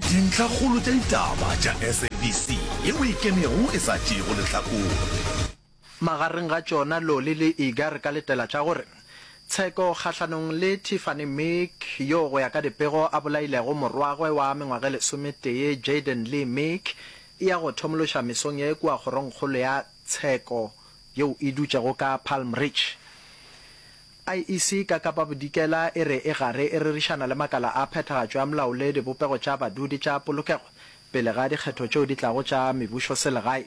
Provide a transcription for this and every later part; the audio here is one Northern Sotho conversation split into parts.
Dintlhakgolo tša ditaba tša SABC yeo e kenego e sa tšeego lehlakore. Magareng ga tšona Loli le Iga re ka letela tša gore tsheko kgahlanong le Tiffany Meek yo go ya ka dipego a bolailego morwagwe wa mengwaga e lesometee Jayden Lee Meek e ya go thomološa mesong ye kua kgorongkgolo ya tsheko yeo e dutšego ka Palm Ridge. IEC ka Kapa Bodikela e re e gare e rerišana le makala a phethagatšo ya molao le dibopego tša badudi tša polokego pele ga dikgetho tšeo di tlago tša mebušoselegae.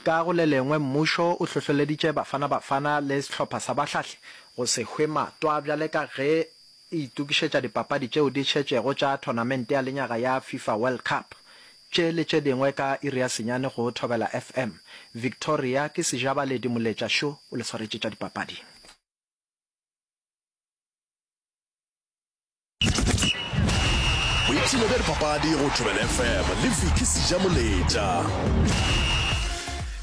Ka go le lengwe, mmušo o hlohleleditše Bafana Bafana le sehlopha sa bahlahli go se hwe matwa bjale ka ge e itokišetša dipapadi tšeo di šetšego tša thonamente ya lenyaga ya FIFA World Cup. Tše le tše dingwe ka iri ya senyane go Thobela FM. Victoria ke Sejabaledi Moletša šo o le swaretše tša dipapadi. Boipshino bja dipapadi go Thobela FM le Vicky Sejamoletša.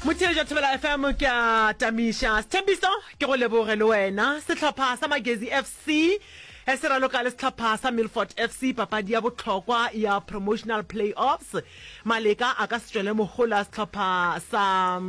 Motheeletši wa Thobela FM ke a tamiša. Sethembiso ke go leboge le wena. Sehlopha sa Magezi FC se raloka le sehlopha sa Milford FC papadi ya bohlokwa ya promotional play-offs. Maleka a ka se tšwele mohola sehlopha sa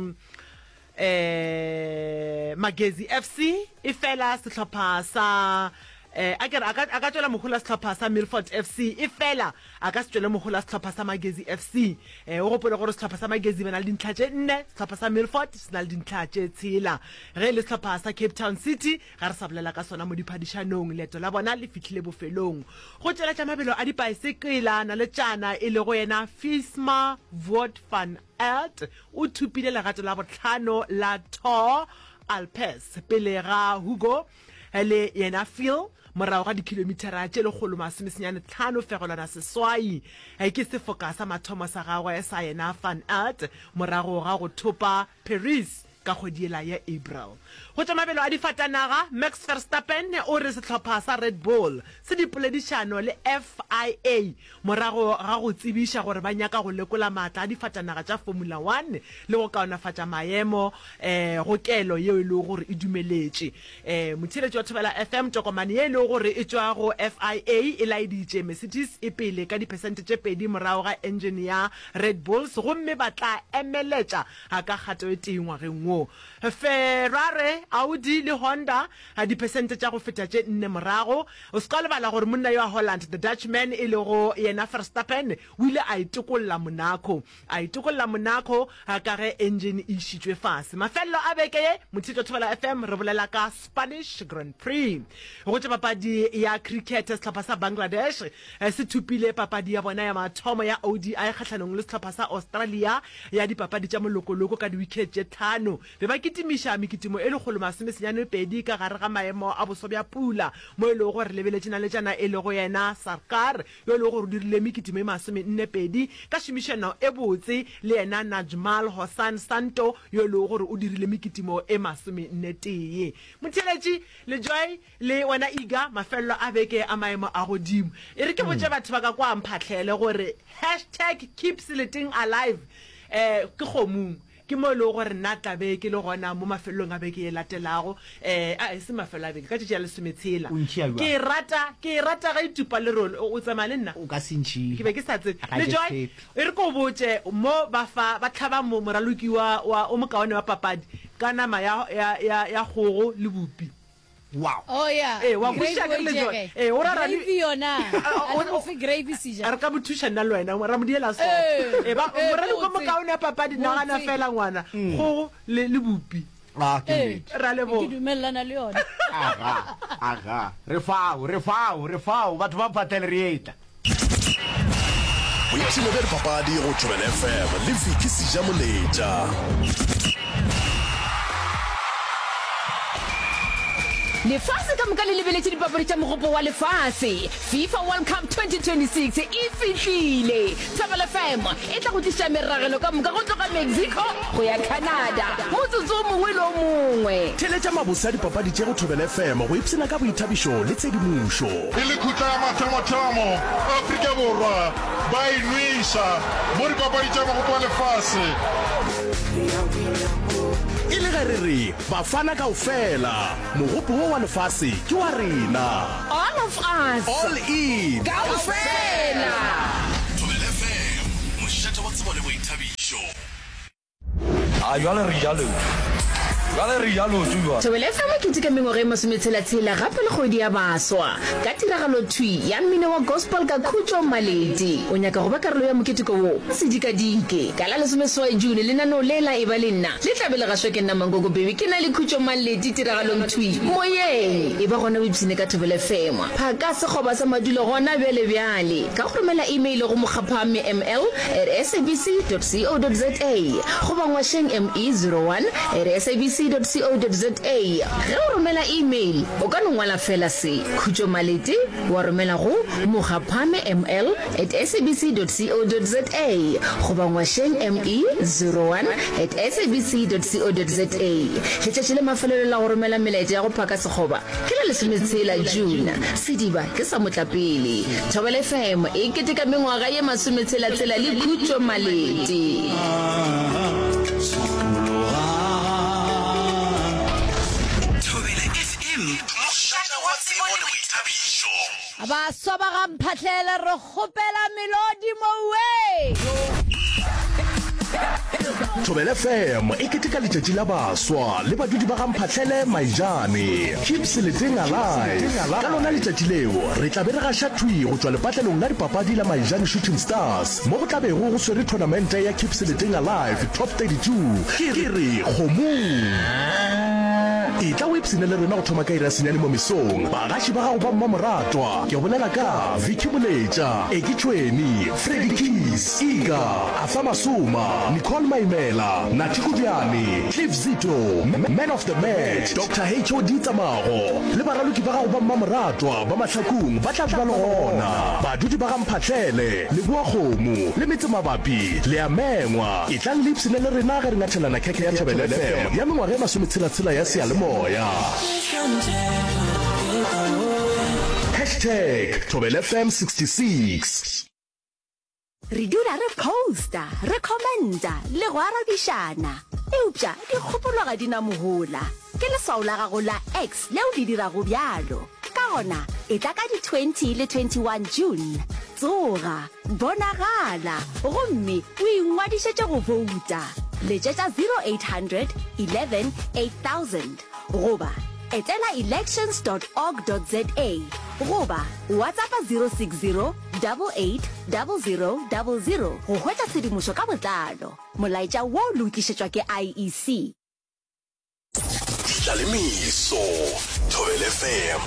eh Magezi FC efela sehlopha sa eh a ke re a ka a ka tšwela mohola sehlopha sa Milford FC efela a ka se tšwele mohola sehlopha sa Magezi FC. Eh o gopole gore sehlopha sa Magezi ba na le dintlha tše nne, sehlopha sa Milford se na le dintlha tše tshela. Ge e le sehlopha sa Cape Town City ga re sa bolela ka sona mo diphadišanong, leeto la bona le fihlile bofelong. Go tšweletša mabelo a dipaesekela naletšana e lego yena Fisma Voort van Aert o thopile legato la bohlano la Tour Alpes pele ga Hugo le yena Phil morago ga dikhilomithara tše 195 fegelwana seswai. Ke sefoka sa mathomo sa gagwe sa yena Van Aert morago ga go thopa Paris ka kgwedi yela ya April. Go tša mabelo a difatanaga, Max Verstappen o re sehlopha sa Red Bull se dipoledišano le FIA morago ga go tsebiša gore ba nyaka go lekola maatla a difatanaga tša Formula One le go kaonafatša maemo go kelo yeo e lego gore e dumeletše. Motheeletši wa Thobela FM, tokomane ye e lego gore e tšwa go FIA e laeditše Mercedes e pele ka diphesente tše pedi morago ga enjene ya Red Bulls gomme ba tla emeletša A ka kgato e tee ngwageng wo. Ferrari, Audi le Honda diphesente tša go feta tše nne morago. O se ka lebala gore monna yo wa Holland, the Dutchman, e lego yena Verstappen, o ile a itokolla Monaco. A itokolla Monaco ka ge engine e išitšwe fase. Mafelelo a beke ye, Motheetšo Thobela FM, re bolela ka Spanish Grand Prix. Go tša papadi ya cricket, sehlopha sa Bangladesh se thopile papadi ya bona ya mathomo ya ODI kgahlanong le sehlopha sa Australia ya dipapadi tša molokoloko ka diwikhet tše tlhano. Be ba kitimiša mekitimo e 192 ka gare ga maemo a boso bja pula mo e lego gore re lebeletše naletšana e lego yena Sarkar yo e lego gore o dirile mekitimo e 42 ka šomišano e botse le yena Najmal Hossain Santo yo e lego gore o dirile mekitimo e 41. Motheeletši Lejoy Le wena Iga, mafelelo a beke a maemo a godimo. E re ke botše batho ba ka kwa Mphahlele gore hashtag keep Seleteng alive eh ke kgomong. Ke mo e lego gore nna tla be ke le gona mo mafelelong a beke ye latelago, eh a e se mafelo a beke, ka tšatši la lesometshela. O ntšhia bjang? Ke e rata, ke e rata ge e tupa lerole. O, o tsamaya le nna? O ka se ntšhie. Ke be ke sa tsebe. Ga ke Lejoy, tshepe. e re ke o botše, mo ba fa, ba hlaba mo, moraloki wa, wa, o mokaone wa papadi ka nama ya, ya, ya, ya kgogo le bupi. Wow. Oh yeah. Ee, wa Gravy kwešiša o ke re e le tšea Joy. kae? Ee, o ra ra di- Gravy yona. Ah, A o- le mo fe gravy seja. Re ka mo thuša nna le wena, ra mo diela so. Ee, Ee, ba ee, moraloki o botse. mokaone wa papadi, nagana Botse. fela ngwana. Kgogo le le bupi. Ah, ke Ee. nnete. Ra leboga. Ke dumelelana le yona. Aga, aga. Re fao, re fao, re fao. Batho ba Mphahlele re etla. Boipshino bja dipapadi go Thobela FM le Vicky Sejamoletša. Lefase ka moka le lebeletše dipapadi tša Mogopo wa Lefase. FIFA World Cup 2026 e fihlile! Thobela FM e tla go tliša meragelo ka moka go tloga Mexico go ya Canada motsotso o mongwe le o mongwe. Theeletša mabose a dipapadi tše go Thobela FM go ipshina ka boithabišo le tshedimošo. E le khutla ya mathomothomo, Afrika Borwa ba e nweša mo dipapadi tša Mogopo wa Lefase. E le ge re re Bafana kaofela, mogopo wo wa lefase ke wa rena. All of us. All in. Kaofela. Thobela FM. A jwale re ja leoto. Jwale re ja leoto jwale. Thobela FM e keteka mengwaga e masometshela-tshela gape le kgwedi ya baswa ka tiragalo thwi ya mmino wa gospel ka Khutšo Maleti. O nyaka go ba karolo ya moketeko wo? Se dikadike! Ka la lesomeseswai June lenaneo le la Eba le Nna le tla be le gašwa ke nna Mankoko Baby ke na le Khutšo Maleti tiragalong thwi moyeng. Eba gona o ipshine ka Thobela FM. Phaka sekgoba sa madulo gona bjale bjale ka go romela email go mokgaphamme ml at sabc dot co dot za goba ngwašeng me 01 at sabc dot co dot za. Ge o romela email o ka no ngwala feela se, Khutšo Malete, wa romela go mokgaphame ml at sabc dot co dot za goba ngwašeng me 01 at sabc dot co dot za. Letšatši la mafelelo la go romela melaetša ya go phaka sekgoba Ke la lesometshela June, sediba ke sa motlapele. Thobela FM e keteka mengwaga ye masometshela-tshela le Khutšo Malete. Thobela FM, mošate wa tsebo le boithabišo. Baswa ba ga Mphahlele re kgopela melodi mowe. Thobela FM e keteka letšatši la baswa le badudi ba ga Mphahlele Maijane. Keep Seleteng alive. Ka lona letšatši leo re tla be re gaša thwi go tšwa lepatlelong la dipapadi la Maijane Shooting Stars mo go tla bego go swere thonamente ya Keep Seleteng Alive Top 32. Ke re kgomong. Etla o ipshine le rena go thoma ka iri ya senyane mo mesong. Bagaši ba gago ba mmamoratwa, ke bolela ka Vicky Moletša, Eki Tšhweni, Freddie Keys, Iga, Arthur Masoma, Nicole Maimela, Nathi Kobjane, Cliff Zito, Man of the Match, Doctor HOD Tsamago, le baraloki ba gago ba mmamoratwa ba Mahlakung ba tla be ba le gona. Badudi ba ga Mphahlele, Leboakgomo, le metsemabapi, le a mengwa. Etlang le ipshine le rena ge re ngathelana khekhe ya Thobela FM ya mengwaga e masometshela-tshela ya seyalemoya. Hashtag Thobela FM 66. Re dula re posta, re commenta le go arabišana. Eupša dikgopolo ga di na mohola. Ke leswao la gago la X leo le dirago bjalo. Ka gona, etla ka di 20 le 21 June. Tsoga, bonagala, gomme o ingwadišetše go bouta. Letšetša 0800 11 8000 goba etela elections dot org dot za goba WhatsAppa 060 88 00 00 go hwetša tshedimošo ka botlalo. Molaetša wo le o tlišetšwa ke IEC. Ditlalemeso, Thobela FM.